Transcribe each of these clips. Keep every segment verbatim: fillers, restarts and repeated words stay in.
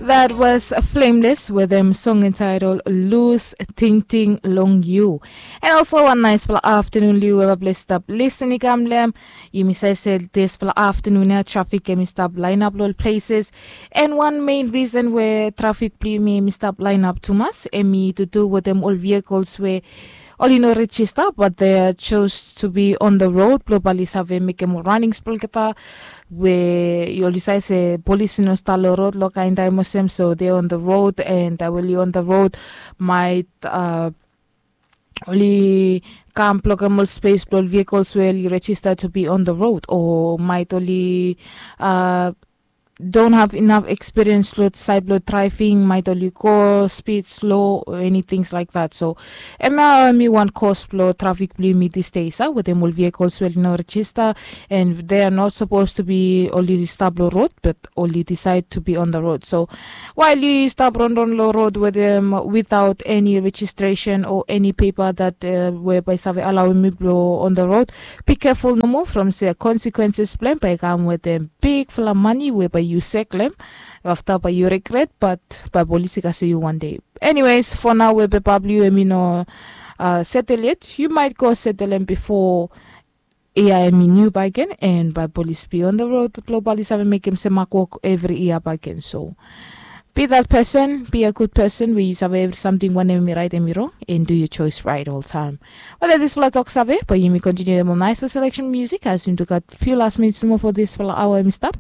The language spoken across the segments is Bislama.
That was Flameless with them song entitled Lose Ting Ting Long You. And also one nice fala afternoon liu weba blessed up listen ikam lem. Yumi sai se this fala afternoon ya traffic em stop line up all places. And one main reason where traffic blue me em stop line up too much em to do with them all vehicles where oli no register but they chose to be on the road blo bali save mekem ol runnings blo olgeta we oli save se polis i no stap long rod long kain taim olsem so they on the road and they will on the road might uh, oli kam blokem ol space blo ol vehicles we oli register to be on the road or might oli uh, don't have enough experience lo side lo driving might only go speed slow or anything like that so em ya mi wan cause lo traffic blo mi these days ah, with them all vehicles well no register and they are not supposed to be only stop lo road but only decide to be on the road so while you stop run run lo road with them without any registration or any paper that uh, whereby save allow me blo on the road be careful no more from say consequences plan by come with them big fala money whereby you seklem afta by you regret but by polisi kasi you one day anyways for now webe babli we mi no uh, settle yet you might go settle em before ia em new bagen and by police be on the road globally save make him semak work every ia bagen so be that person be a good person where you save every something one em right em wrong and do your choice right all time. Well, that is fala talk save but you may continue them on nice for selection music as soon to got few last minutes more for this fala hour em stop.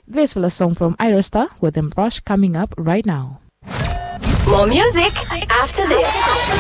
This fala song from Aerostar with them brush coming up right now. More music after this.